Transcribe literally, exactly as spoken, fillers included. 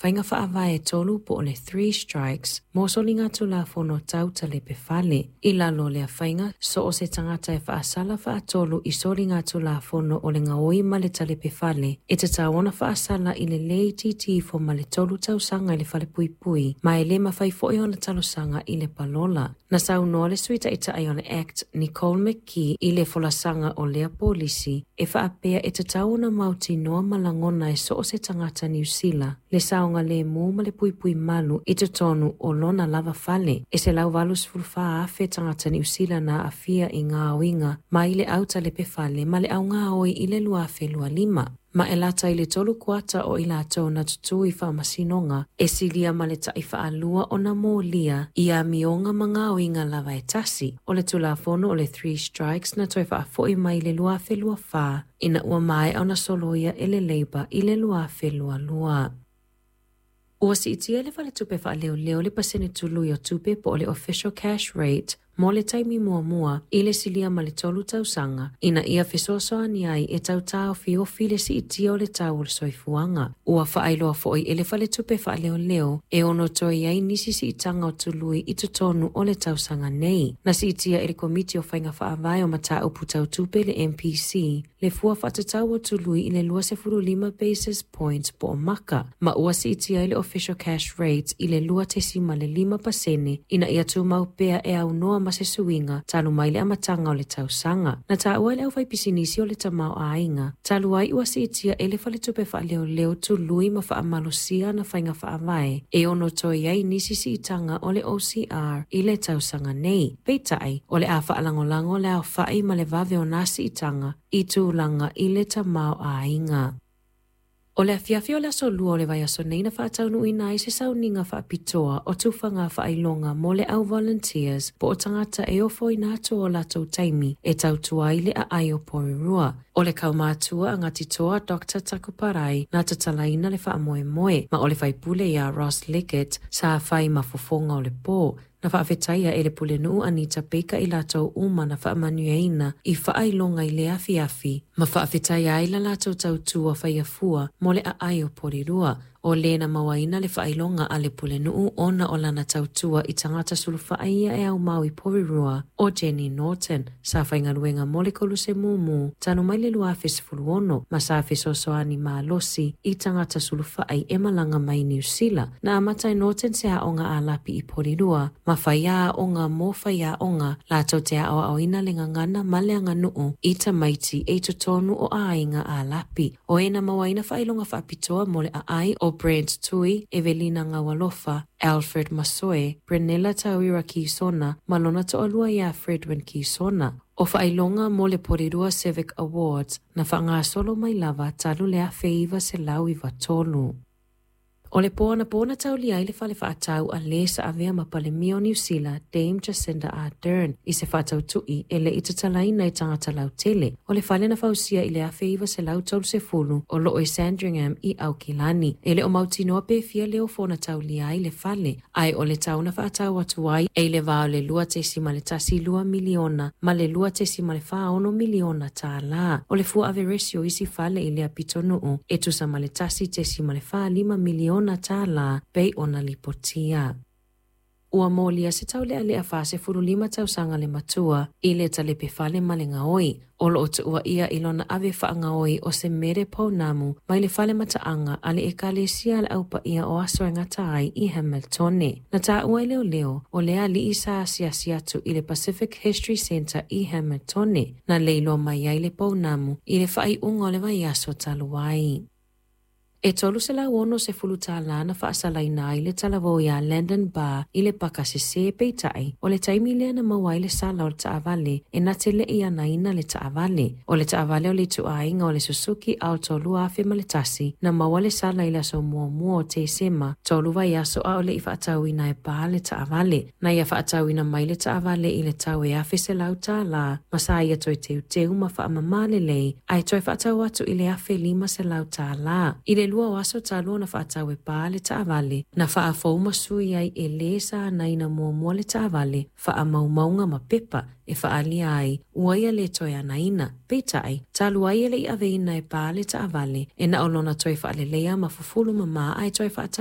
faiga faavae e tolu po o le three strikes mo soligatulafono tau talepe fale. I lalo o lea faiga, so o se tagata e faasala faatolu i soligatulafono o le gaoi ma le talepe fale, e tatau ona faasala i le le itiiti ifo ma le tolu tausaga i le falepuipui, ma e le mafai foi ona talosaga i le palola. Na saunoa le Sui Taitai o le Act, Nicole McKee, i le folasaga o lea polisi, e faapea e tatau ona mautinoa ma lagona e so o se tagata Niu Sila, le saogalemu ma le puipui malu i totonu o lona lava fale. E selau valusefulu fa afe tagata Niu Sila na aafia i gaoiga mai le au talepe fale ma le au gaoi i le lua afe lua lima. Ma e lata i le tolu kuata o i latou na tutū i faamasinoga, e silia ma le tai faalua ona molia i amioga ma gaoiga lava e tasi. O le tulafono o le Three Strikes na toe faafoi mai i le lua afe lua fa, ina ua maea ona soloia e le Labour i le lua afe lua lua. Ua siitia le faletupe faaleoleo le pasene tului o tupe po o le official cash rate mo le taimi muamua i le silia ma le tolu tausaga, ina ia fesoasoani ai e tau taofiofi le siitia o le tau o le soifuaga. Ua faailoa foi e le faletupe faaleoleo e ono toe i ai nisi siitaga o tului i totonu o le tausaga nei. Na siitia e le Komiti o Faiga Faavae o Mataupu Tau Tupe le M P C le fua faatatau o tului i le luasefulu lima basis points po o maka, ma ua siitia ai le official cash rate i le lua tesima le lima pasene ina ia tumau pea e aunoa ma se suiga talu mai le amataga o le tausaga. Na taua e le aufaipisinisi o le tamaoaiga, talu ai ua siitia e le faletupe faaleoleo tului ma faamalosia na faiga faavae e ono toe ai nisi siitaga o le O C R i le tausaga nei. Peitai, o le a faalagolago le aofai ma le vave o nā siitaga i tulaga i le tamaoaiga. O le afiafi o le aso lua o le vaiaso nei na faataunuuina ai se sauniga faapitoa o tufaga faailoga mo le au volunteers po o tagata e ofoina atu o latou taimi e tautua ai le aai o Porirua. O le kaumātua a Ngāti Toa Doctor Takuparai na tatalaina le faamoemoe ma o le faipule ia Ross Liggett sa fai mafofoga o le pō. Na faafetaia e le pulenuu Anita Baker i latou uma na faamanuiaina i faailoga i le afiafi, ma faafetaia ai la latou tautua faiafua mo le aai o Porirua. O lena mauaina le faailoga a le pulenuu ona o lana tautua i tagata sulufai ia e aumau i Porirua o Jenny Norton, sa faigaluega mo le koluse mumu talu mai le lua afe sefulu ono, ma sa fesoasoani malosi i tagata sulufai e malaga mai Niu Sila. Na amata e Norton se aoga a lapi i Porirua, ma fai aoga mo fai aoga latou te aoaoina le gagana ma le aganuu i tamaiti e i totonu o aiga a lapi. O ena mauaina faailoga faapitoa mo le aai o Brent Tui, Evelina Ngawalofa, Alfred Masoe, Brenella Tawira Kisona, ma lona toalua ia Fredwin Kisona. O faailoga mo le Porirua Civic Awards na faagasolo mai lava talu le afe iva selau iva tolu. O le pō anapo na taulia ai le fale faatau a le sa avea ma Palemia o Niu Sila, Dame Jacinda Ardern, i se faatautui e le i tatalaina i tagata lautele. O le fale na fausia i le afe iva selau tolu sefulu o loo i Sandringham i Aukilani. E le o mautinoa pe fia leo fona taulia ai le fale, ae o le tau na faatau atu ai e i le vā o le lua tesima le tasi lua miliona ma le lua tesima le whaono miliona tālā. O le fua averesi o isi fale i lea pitonuu e tusa ma le tasi tesima le whaalima miliona tālā pei ona lipotia. Ua molia se taulealea fasefulu lima tausaga le matua i le talepe fale ma le gaoi. O loo tuua ia i lona ave faagaoi o se mere pounamu mai le fale mataaga a le ekalesia le aupaia o aso e gata ai i Hamiltone. Na taua e leoleo o le alii sa asiasi atu i le Pacific History Centre i Hamiltone. Na leiloa mai ai le pounamu i le faaiuga o le vaiaso talu ai. E tolu selau ono sefulu tālā na faasalaina ai le talavou ia Landon Barr i le pakasese peitai. O le taimi lea na maua ai le sala o le taavale e na te le i anaina le taavale. O le taavale o le ituaiga o le Suzuki Alto lua afe ma le tasi na maua le sala i le aso muamua o Tesema tolu vaiaso a o le i faatauina e Barr le taavale. Na ia faatauina mai le taavale i le tau e afe selau tālā ma sa ia toe teuteu ma faamamā lelei ae toe faatau atu i le afe lima selau tālā. I le lua o aso talu ona faatau e Barr le taavale, na faafou ma sui ai e lē sa anaina muamua le taavale, faamaumauga ma pepa e faalia ai, ua ia le toe anaina. Peitai, talu ai e le i aveina e Barr le taavale, e na o lona toe faaleleia ma fufulu mamā ae toe faatau